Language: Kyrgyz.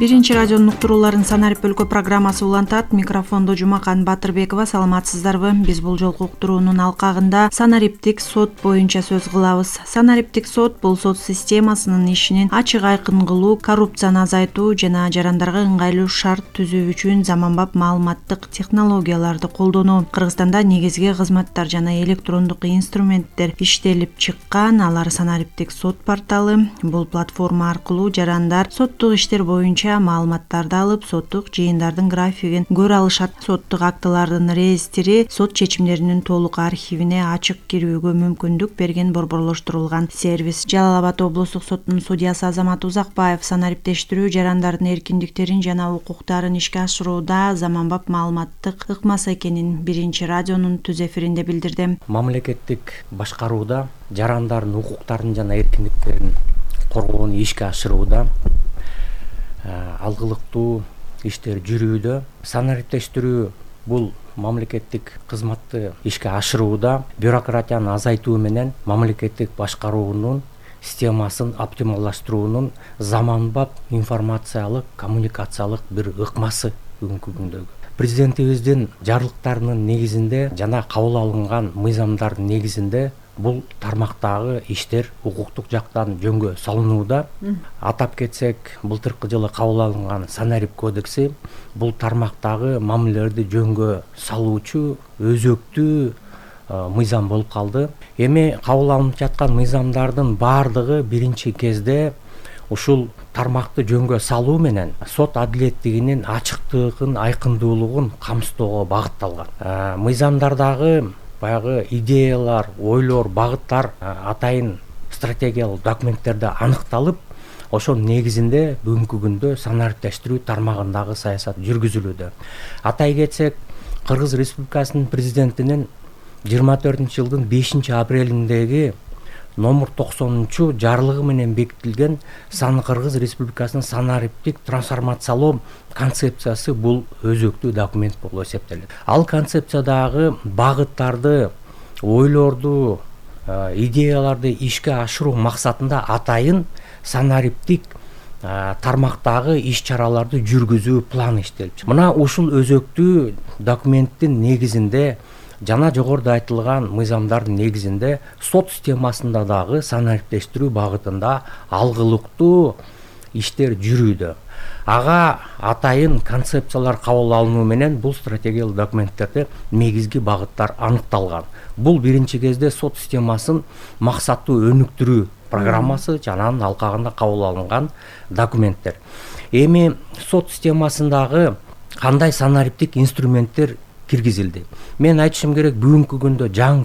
Биринчи радионун уктурууларын Санарип өлкө программасы улантат. Микрофондо Жумакан Батырбекова. Саламатсыздарбы? Биз бул жолку уктуруунун алкагында санариптик сот боюнча сөз кылабыз. Санариптик сот бул сот системасынын ишинин ачык айкын кылуу, коррупцияны азайтуу жана жарандарга ыңгайлуу шарт түзүү үчүн заманбап маалыматтык технологияларды колдонуу. Кыргызстанда негизги кызматтар жана электрондук инструменттер иштелип чыккан. Алар санариптик сот порталы. Бул платформа аркылуу жарандар соттук иштер боюнча маалыматтарды алып, соттук жыйындардын графигин көрө алышат. Соттук актылардын реестри сот чечимдеринин толук архивине ачык кирүүгө мүмкүндүк берген борборлоштурулган сервис. Жалал Абад облустук соттунун судьясы Азамат Узакбаев санариптештирүү жарандардын эркиндиктерин жана укуктарын ишке ашырууда заманбап маалыматтык ыкмасы экенин Биринчи радионун түз эфиринде билдирди. Мамлекеттик башкарууда жарандардын укуктарын жана эркиндиктерин коргоону ишке ашырууда алгылыктуу иштер жүрүүдө. Санариптештирүү бул мамлекеттик кызматты ишке ашырууда бюрократияны азайтуу менен мамлекеттик башкаруунун системасын оптималдаштыруунун заманбап информациялык, коммуникациялык бир ыкмасы бүгүнкү күндөгү. Президентибиздин жарлыктарынын негизинде жана кабыл алынган мыйзамдардын негизинде бул тармактагы иштер укуктук жактан жөнгө салынууда. Атап кетсек, былтыркы жылы кабыл алынган Санарип кодекси бул тармактагы мамилелерди жөнгө салуучу өзөктүү мыйзам болуп калды. Эми кабыл алынып жаткан мыйзамдардын баардыгы биринчи кезде ушул тармакты жөнгө салуу менен сот адилеттигинин ачыктыгын, айкындуулугун камсыздоого багытталган. Мыйзамдардагы баягы идеялар, ойлор, багыттар атайын стратегиялык документтерде аныкталып, ошонун негизинде бүгүнкү күндө санариптештирүү тармагындагы саясат жүргүзүлүүдө. Атай кетсек, Кыргыз Республикасынын президентинин 24-жылдын 5-апрелиндеги номер 90 жарлыгы менен бекитилген Кыргыз Республикасынын санариптик трансформациялоо концепциясы бул өзөктүү документ болуп эсептелет. Ал концепциядагы багыттарды, ойлорду, идеяларды ишке ашыруу максатында атайын санариптик тармактагы иш-чараларды жүргүзүү планы иштелип. Мына ушул өзөктүү документтин негизинде жана жогоруда айтылган мыйзамдардын негизинде сот системасында дагы санариптештирүү багытында алгылыктуу иштер жүрүүдө. Ага атайын концепциялар кабыл алынуу менен бул стратегиялык документтерде негизги багыттар аныкталган. Бул биринчи кезде сот системасын максаттуу өнүктүрүү программасы жана анын алкагында кабыл алынган документтер. Эми сот системасындагы кандай санариптик инструменттер киргизилди? Мен айтышым керек, бүгүнкү күндө жаңы